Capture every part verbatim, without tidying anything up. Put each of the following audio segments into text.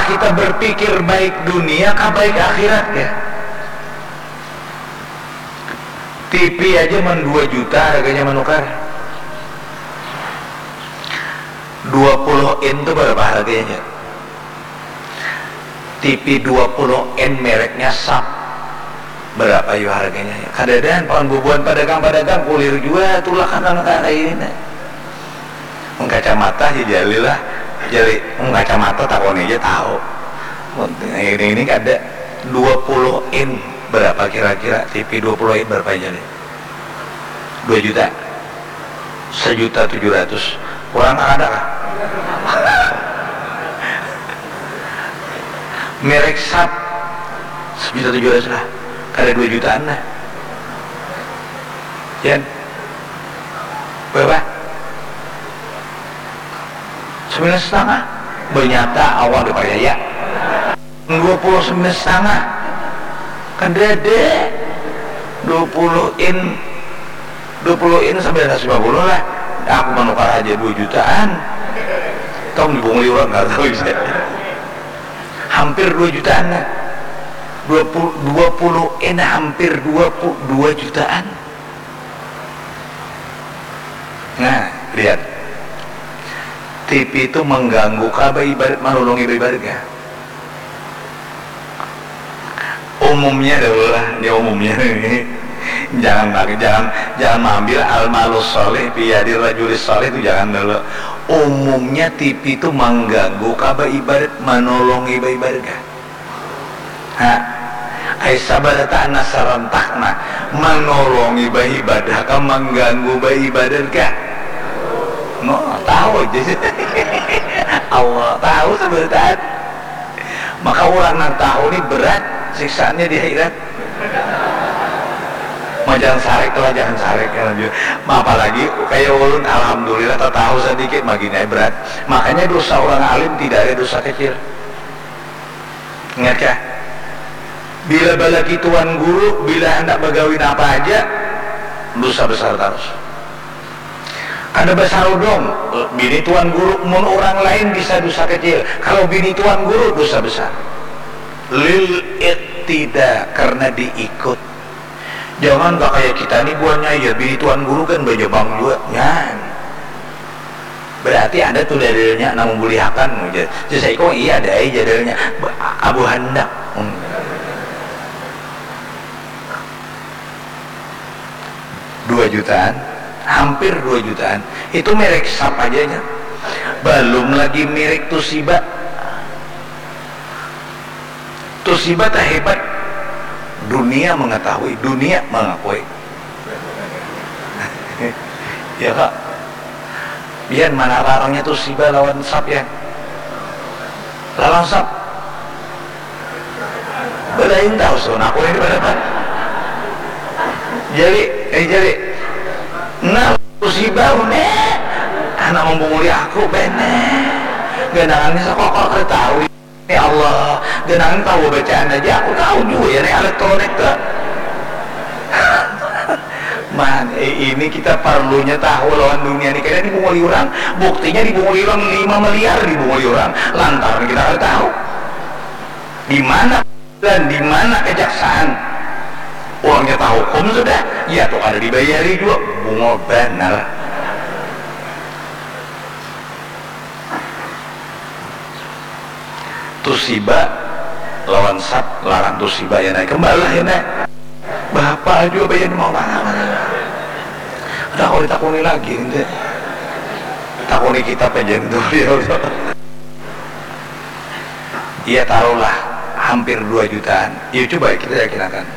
Kita berpikir baik dunia kah baik akhirat kah? T V aja man dua juta harganya manukar. Dua puluh in tu berapa harganya? T V dua puluh in mereknya Sharp. Berapa yu harganya? Kadadaan pawan bubuhan padagang-padagang kulir jua tulak anak-anak ini. Mun kacamata si Jalil lah, Jali, mun kacamata takoni aja tahu. Mun ini, ini kada dua puluh in berapa kira-kira T V dua puluh in berapa Jali? Dua juta. Sejuta tujuh ratus. Kurang tak ada kah? Merek Sharp sejuta tujuh ratus lah. Kada dua jutaan lah. Yan. Berapa? Sembilan setengah. Bernyata awal dipercaya. Dua puluh sembilan setengah. Kan dede. Dua puluh in. Dua puluh in sembilan ratus lima puluh lah. Aku menukar aja dua jutaan. Tong dibunguli orang nggak tahu bisa. Hampir dua jutaan lah. Dua puluh, dua puluh in hampir dua puluh dua jutaan. Nah, lihat. T V itu mengganggu kah baibadat, manolongi baibadat kah? Umumnya dahulu lah, ini umumnya ini. Jangan lagi, jangan jangan mengambil al-malus sholih biyadi rajulis sholih itu jangan dulu. Umumnya T V itu mengganggu kah baibadat, manolongi baibadat kah? Ha. Ai sabarataan sarantak nah, manolongi baibadah kah, mangganggu baibadah kah? No, tahu aja. Allah tahu sabarataan. Maka orang nang tahu ni berat siksaannya di akhirat. Ma jangan sarik lah, jangan sarik. Apalagi kaya ulun, alhamdulillah tatahu sadikit, magini ai berat. Makanya dosa orang alim tidak ada dosa kecil. Ingat kah? Bila balaki tuan guru, bila handak bagawi napa haja, dusa besar tarus. Kada basarudung, bini tuan guru, mun urang lain bisa dusa kecil, kalau bini tuan guru dusa besar. Lil iqtida, karna diikut. Jangan kah kaya kita ni buhannya, ya bini tuan guru kan bajabang jua, nyan. Berarti ada tu dalilnya nang membulihakan, jar. Jar saikung, iya ada ai jar dalilnya. Abu handak. Hmm. Dua jutaan, hampir dua jutaan. Itu merek Sharp aja nya. Belum lagi merek Toshiba. Toshiba teh hebat. Dunia mengetahui, dunia mengakui. Ya kak. Biar mana larangnya Toshiba lawan Sharp ya. Lawan Sharp. Belain tahu sun aku ini berapa. Jadi, eh jadi. Nah, Toshiba ne. Anak membunguli aku bene. Gandangannya sakokok ketahui. Ya Allah, genangan tahu bacaan aja, aku tahu juga ya nih elektronik tuh. Man, eh, ini kita perlunya tahu lawan dunia nih, kayaknya dibunguli orang, buktinya dibunguli orang lima miliar dibunguli orang, lantaran kita nggak tahu di mana dan di mana kejaksaan. Uangnya tahu hukum sudah, ya tuh kada dibayari juga, bungul benar. Tusiba lawan sat larang tusiba ya naik kembali lah ya naik. Bahapa jua bayan mau mana mana. Udah kau ditakuni lagi nanti. Takuni kita penjeng tu ya. Iya taruhlah hampir dua jutaan. Iya coba kita yakinakan.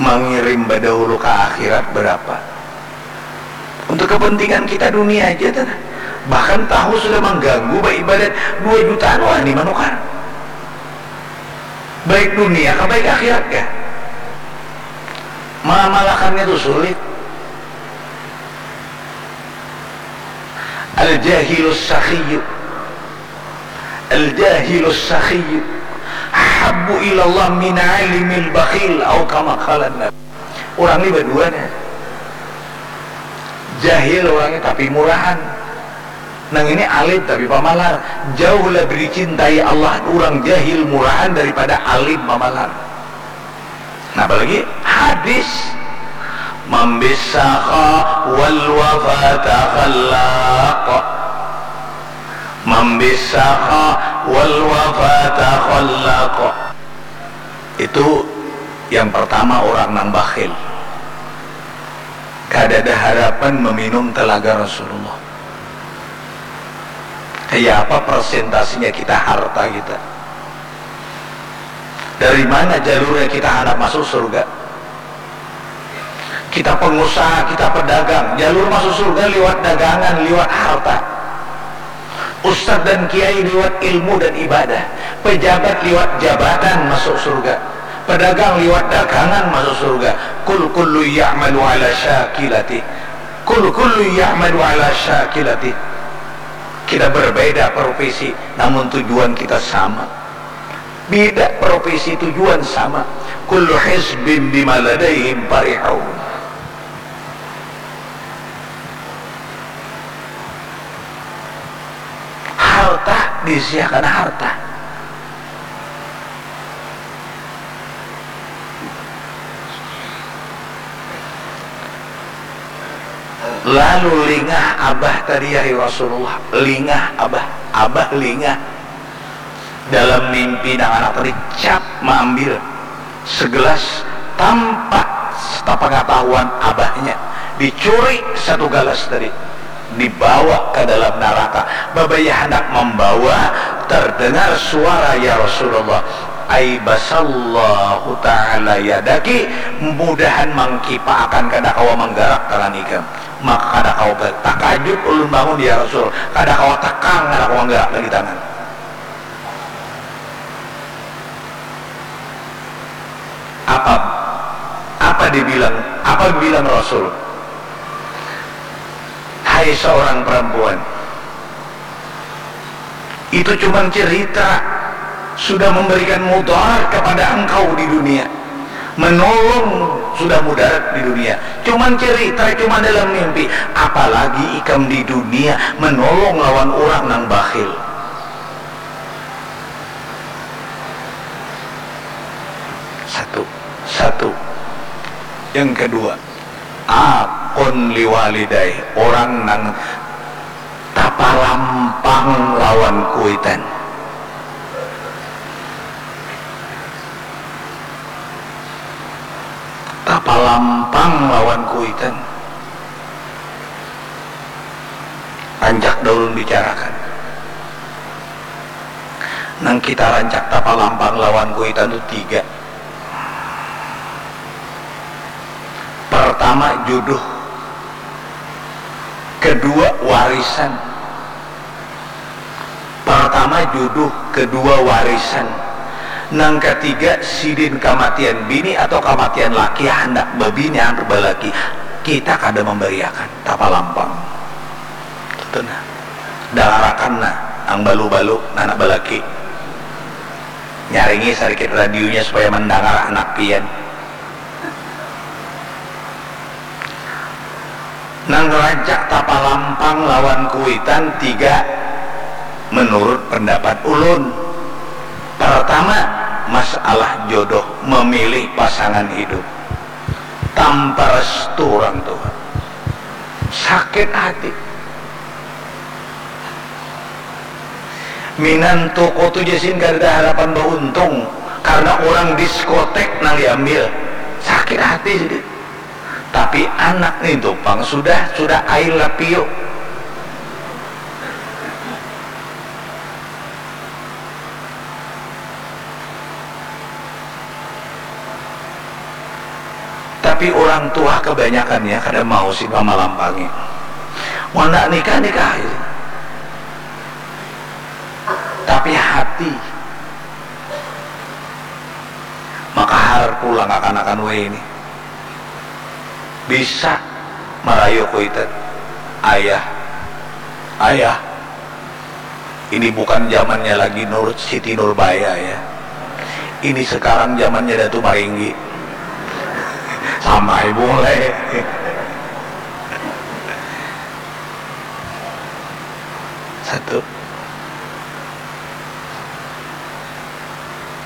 Mengirim badahulu ke akhirat berapa? Untuk kepentingan kita dunia aja tuh. Bahkan tahu sudah mengganggu beribadat dua jutaan wani manukar. Baik dunia kah baik akhirat kah? Mengamalkannya tuh sulit. Al-jahilus sakhiyu. Al-jahilus sakhiyu ahabbu ilallah min alimil bakhil au kama qalan nabi. Orang ni badua nih. Jahil orangnya tapi murahan. Nang ini alim tapi pamalar. Jauh lebih dicintai Allah urang jahil murahan daripada alim pamalar. Nah, apalagi hadis, "Mambisaka wal wafata khallaq." Mambisaka wal wafata khallaq. Itu yang pertama, orang nang bakhil. Kadada harapan meminum telaga Rasulullah. Kaya apa persentasinya kita harta kita? Dari mana jalurnya kita handak masuk surga? Kita pengusaha, kita pedagang, jalur masuk surga liwat dagangan, liwat harta. Ustadz dan kiai liwat ilmu dan ibadah, pejabat liwat jabatan masuk surga, pedagang liwat dagangan masuk surga. Kul kullu ya'malu ala syakilati. Kul kullu ya'malu ala syakilati. Kita berbeda profesi, namun tujuan kita sama. Bida profesi, tujuan sama. Kullu hizbin bima ladaihim farihun. Harta, disiakan harta. Lalu lingah abah tadi, ya Rasulullah, lingah abah, abah lingah. Dalam mimpi nang anak tadi cap maambil segelas tanpa sepengetahuan abahnya, dicuri satu galas tadi, dibawa ke dalam naraka. Babaya handak membawa, terdengar suara, "Ya Rasulullah, aibasallahu ta'ala yadaki, mudahan mangkipaakan kada kawa menggerak tangan ikam." Maka kada kawa ber-, takajut ulun bangun, "Ya Rasul, kada kawa tekang, kada kawa menggerak lagi tangan." Apa, apa dibilang, apa bilang Rasul? "Hai seorang perempuan, itu cuman cerita, sudah memberikan mudarat kepada engkau di dunia, menolong sudah mudarat di dunia, cuman cerita, cuman dalam mimpi, apalagi ikam di dunia menolong lawan orang nang bakhil." Satu, satu. Yang kedua, akun liwalidaih, orang nang tapalampang lawan kuitan. Tapalampang lawan kuitan. Rancak dah ulun bicarakan. Nang kita rancak tapalampang lawan kuitan tu tiga. Pertama, jodoh. Kedua, warisan. Pertama, jodoh. Kedua, warisan. Nang ketiga, sidin kamatian bini atau kamatian laki, handak babini, handak balaki. Kita kada memberiakan, tapalampang. Itu nah. Dangarakan nah, nang balu-balu, nang handak balaki. Nyaringi sadikit radionya supaya mandangar anak pian. Nang rancak tapalampang lawan kuitan tiga, menurut pendapat ulun. Pertama, masalah jodoh, memilih pasangan hidup. Tanpa restu orang tua. Sakit hati. Minantu ko tu jasin kadada harapan bauntung karena urang diskotek nang diambil. Sakit hati sidin. Tapi anak nintu pang sudah, sudah I love you. Tapi urang tuha kabanyakannya kada mau sidin mamalampangi. Mun handak nikah, nikah haja. Tapi hati, makahar pulang kakanakan wahini. Bisa marayu kuitan. Ayah, ayah, ini bukan zamannya lagi Nur, Siti Nurbaya, ya. Ini sekarang zamannya Datu Maringgi. Sama ibu mulai. Satu.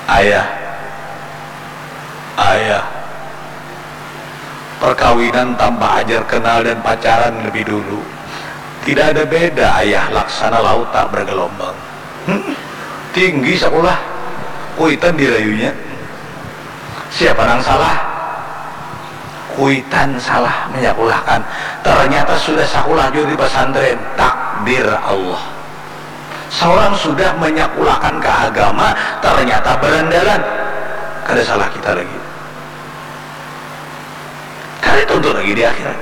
Ayah. Ayah. Perkawinan tanpa ajar kenal dan pacaran lebih dulu. Tidak ada beda, ayah, laksana laut tak bergelombang. Hmm, tinggi sakulah. Kuitan dirayunya. Siapa nang salah? Kuitan salah menyakulahkan. Ternyata sudah sakulah jua di pesantren. Takdir Allah. Seorang sudah menyakulahkan ke agama, ternyata berandalan. Kada salah kita lagi. Kada tuntut lagi di akhirat.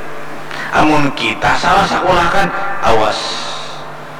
Amun kita salah sakulahkan, awas.